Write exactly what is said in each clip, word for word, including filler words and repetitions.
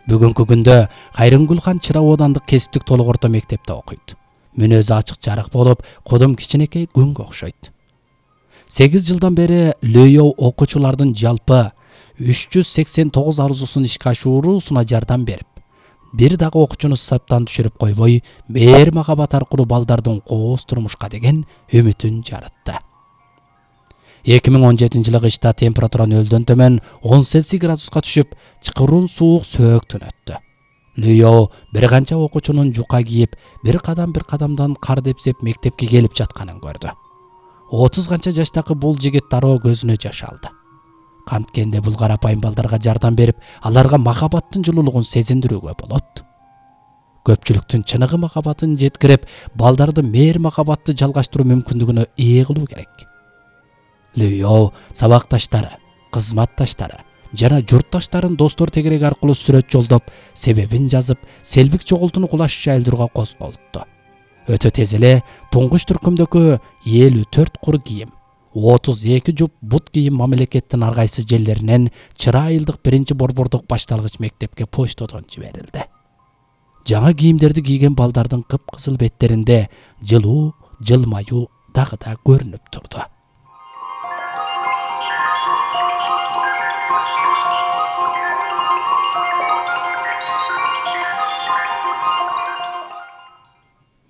Бүгүнкү күндө Кайрымгүлхан Чыра оодандык кесиптик толук орто мектепте окуйт. Мүнөзү ачык жарык болуп, кодум кичинекей күнгө окшойт. сегиз жылдан бери Лөйөө окуучулардын жалпы үч жүз сексен тогуз арзусун ишке ашыруусуна жардам берип, бир дагы окуучуну саптан түшүрүп койбой, мээр махабат аркылуу балдардын кооз турмушка деген үмүтүн жаратты. эки миң он жетинчи жылы кышта температура нөлдөн төмөн он Цельсий градуска түшүп, чыкырын суук сөөктөн өттү. Лөйөө бир канча окуучунун жука кийип, бир кадам бир кадамдан кар депсеп мектепке келип жатканын көрдү. отуз канча жаштагы бул жигит дароо көзүнө жаш алды. Канткенде бул карапайым балдарга жардам берип, аларга махабаттын жылуулугун сезиндирүүгө болот. Көпчүлүктүн чыныгы махабатын жеткирип, балдарды мээр махабатты жалгаштыруу мүмкүндүгүнө ээ кылуу керек. Лөйөө сабакташтары, кызматташтары жана журтташтарын достор тегереги аркылуу сүрөт жолдоп, себебин жазып, селбик чогултууну кулаш жайылдырууга козголупту. Өтө тез эле туңгуч түркүмдөгү элүү төрт кур кийим, отуз эки жуп бут кийим мамлекеттин ар кайсы жерлеринен Чыра айылдык биринчи борбордук башталгыч мектепке почтодон жиберилди. Жаңа кийимдерди кийген балдардын кыпкызыл беттеринде жылуу, жылмаюу дагы да көрүнүп турду.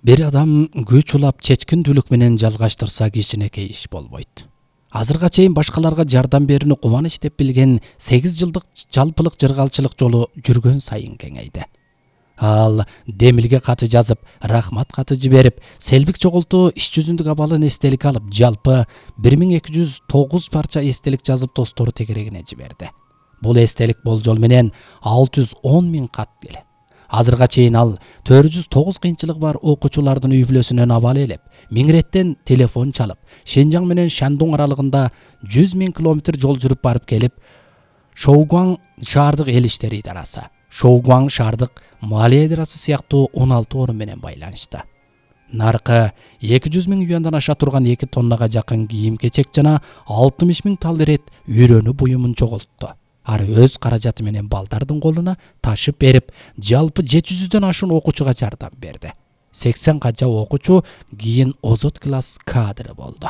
Бир адам күч улап чечкиндүүлүк менен жалгаштырса кичинекей иш болбойт. Азырга чейин башкаларга жардам берүүнү кубаныч деп билген сегиз жылдык жалпылык жыргалчылык жолу жүргөн сайын кеңейди. Ал Демилге каты жазып, рахмат каты жиберип, селбик чогултуу иш жүзүндүк абалын эстелик алып, жалпы бир миң эки жүз тогуз парча эстелик жазып достору тегерегине жиберди. Бул эстелик болжол менен алты жүз он миң кат келет. Азырга чейин ал төрт жүз тогуз кыйынчылыгы бар окуучулардын үй бүлөсүнөн абал элеп, Миңреттен телефон чалып, Шенжаң менен Шандун аралыгында жүз миң километр жол жүрүп барып келип, Шоугуаң шаардык эл иштери идарасы, Шоугуаң шаардык малия идарасы сыяктуу он алты орун менен байланышты. Наркы эки жүз миң юандан аша турган эки тоннага жакын кийим-кечек жана алтымыш миң талдырет үйрөнүү буюмун чогултту. Ар өз каражаты менен балдардын колуна ташып берип, жалпы жети жүздөн ашуун окуучуга жардам берди. сексен канча окуучу кийин озот класс кадры болду.